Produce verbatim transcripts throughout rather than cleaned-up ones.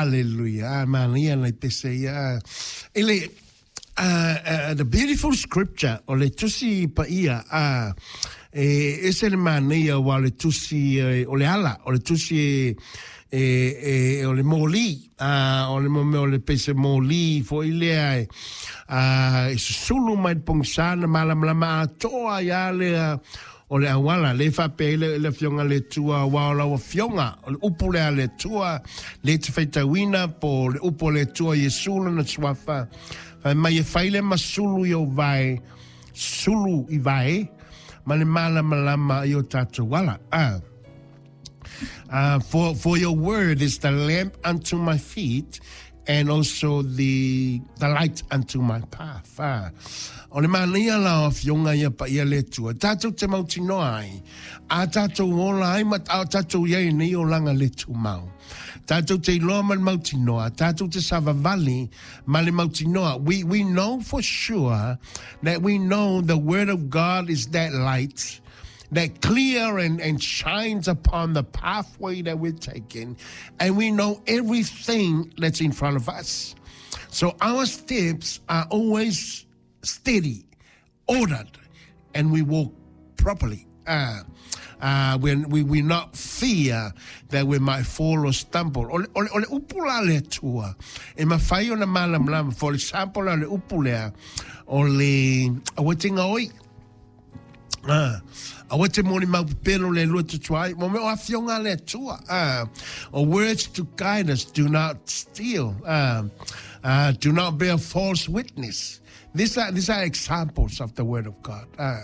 Hallelujah. Ah, manaia nai pese ia. Ah, I le, uh, uh, the beautiful scripture o le tusi paia uh, e ese le manaia ua o le tusi eh, o le ala o le tusi e, e, e, o le moli uh, o le mome o le pese moli foi lea e, uh, e susulu mai le pogisa na malamalama atoa ia lea o le auala le faapea le le afioga le Atua ua o lau afioga o le upu lea le Atua le te faitauina po le upu o le Atua Iesu lona suafa fai mai e fai le masulu i o vae sulu i vae ma le malamalama i o tatou ala ah. Uh, for, for your word is the lamp unto my feet and also the, the light unto my path. Ah. O le manaia la o afioga ia paia le Atua. Tatou te mautinoa ai. A tatou ola ai ma a tatou iai nei olaga le tumau. Tatou te iloa ma le mautinoa. Tatou te savavali ma le mautinoa. We, we know for sure that we know the word of God is that light that clear and, and shines upon the pathway that we're taking. And we know everything that's in front of us. So our steps are always steady, ordered, and we walk properly. Uh, uh, when we, we not fear that we might fall or stumble. O le, o le, o le upu la le Atua, e mafai ona malamalama. For example, o le upu lea, o le aua te gaoi. Ah, aua te molimau pepelo le Atua tutuai. Mo mea o afioga le Atua. Ah, or words to guide us, do not steal. Ah, uh, do not bear false witness. These are, these are examples of the word of God. Ah.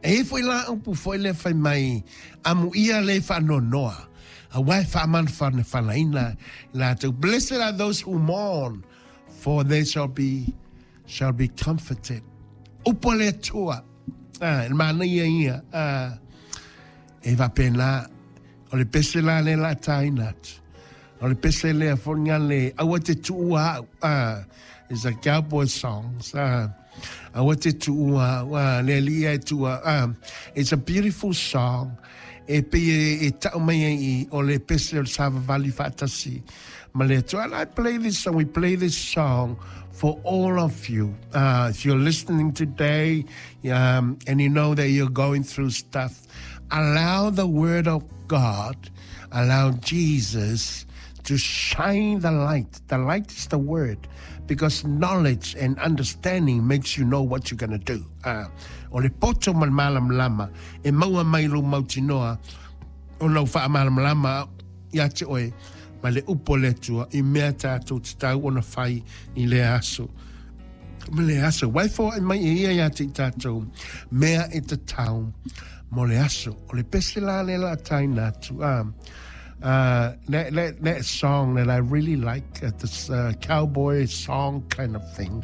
E foi la upu foi le fai mai amuia le faanoanoa. Aua e faamafanafanaina latou. Blessed are those who mourn, for they shall be, shall be comforted. Upu le Atua. Ah, e manaia ia. Ah, e faapena. O le pese la le la taina atu. O le pese lea foga le aua te tuua au. Ah, it's a cowboy song. Ah, aua te tuua au. Ah, le Alii e tuua. Ah, it's a beautiful song. E pe e, e tau mai ai o le pese o le savavali faatasi. Ma le Atua. And I play this song, we play this song for all of you. Uh, if you're listening today um, and you know that you're going through stuff, allow the word of God, allow Jesus to shine the light. The light is the word because knowledge and understanding makes you know what you're going to do. Uh, o le poto ma le malamalama e maua mai lou mautinoa o lau faamalamalama ia te oe ma le upu o le Atua i mea tatou tatau ona fai i le aso. Ma le aso. Waifo ai mai e ia ia te i tatou mea e tatau mo le aso. O le pese la le la taina atu. Um, uh, that, that, that song that I really like, uh, this uh, cowboy song kind of thing.